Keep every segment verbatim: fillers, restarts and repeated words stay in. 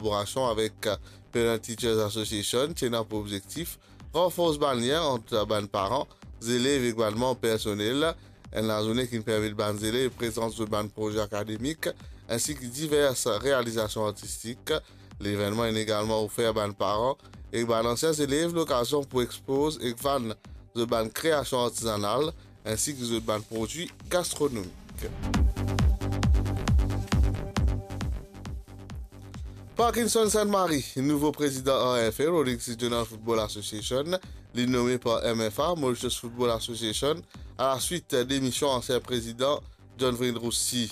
kolaborasion avek Parent Teachers Association, ti ena pou obzektif ranfors bann lien ant bann paran, zelev ek bann manb personel. Enn lazourne ki'nn permet bann zelev prezant zot bann proze akademik, ensi ki divers realizasion artistik. Levennman inn egalman ofer bann paran ek bann ansien zelev lokazion pou ekspoz ek vann zot bann kreasion artizanal, ensi ki zot bann prodwi gastronomik. Parkinson Sainte-Marie, nouvo prezidan A F A, Rolex Regional Football Association, li nome par M F A, Mauritius Football Association, a la swit demision ansien prezidan John Vrin Roussy.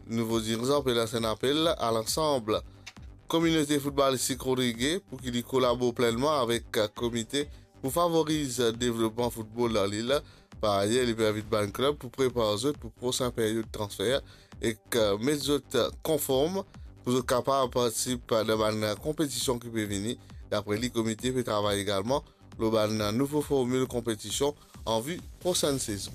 Nouvo dirizan pe lans enn apel a lansam kominote foutbalistik rodrige pou ki li kolabor plennman avek komite pou favoriz devlopman foutbol dan lil. Par ayer, li pe invit bann klub pou prepar zot pou prosin peryod transfer ek, eh, met zot konform pou zot kapav partisip dan bann konpetision ki pe vini. Dapre li, komite pe travay egalman lor bann nouvo formil konpetision an vi prosenn sezon.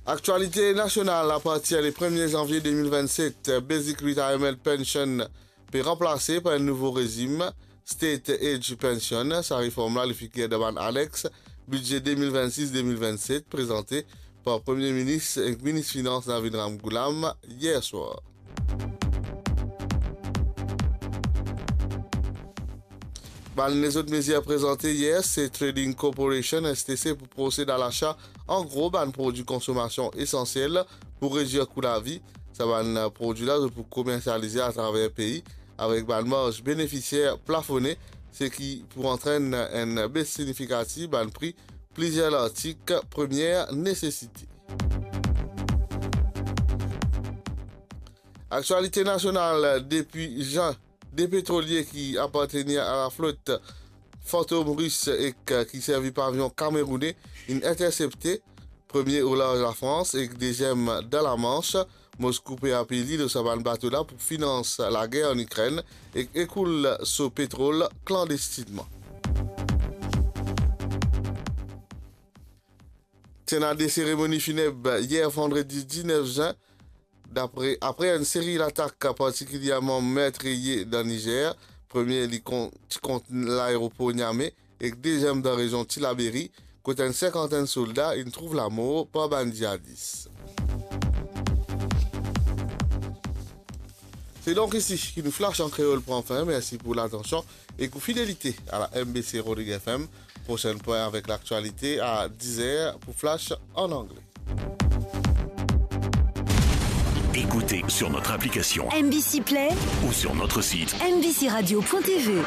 Aktialite nasional, apartir le premie zanvie de mil vennset, Basic Retirement Pension pe ranplase par enn nouvo rezim, State Age Pension. Sa reform la, li figir dan bann anex bidze de mil vennsis de mil vennset, prezante par Premie Minis ek Minis Finans Navin Ramgoolam yer swar. Bann lezot mezir prezante yer, se Trading Corporation, S T C, pou prosed a lasa an gro bann prodwi konsomasion esansiel pou redwir kou lavi. Sa bann prodwi la, zot pou komersialize atraver pei avek bann marz benefisier plafone, seki pou antrenn enn bes signifikatif bann pri plizier lartik premie nesesite. Aktialite nasional, depi zan, de petrolie ki apartenir a laflot Fantom Ris ek ki servi pavion kameroune inn intersepte, premie o larz Lafrans ek deziem dan Lamansh. Moskou pe apey li lor sa bann bato la pou finans lager an Ikrenn ek ekoul so petrol klandestinman. Ti ena de seremoni fineb yer vandredi diznef zin, dapre, apre enn seri latak, partikilierman metrtriye dan Nizer. Premie li kon-, ti kont laeropor Niamey ek deziem dan rezion Tillabéri, kot enn sinkantenn solda inn trouv lamor par bann ziadis. Se donk isi ki nou Flash an Kreol pran fin. Mersi pou latansion ek ou fidelite a la M B C Rodrigues F M. Prosenn pwin avek laktialite a diz er pou Flash an angle. Écoutez sur notre application M B C Play ou sur notre site M B C radio point T V.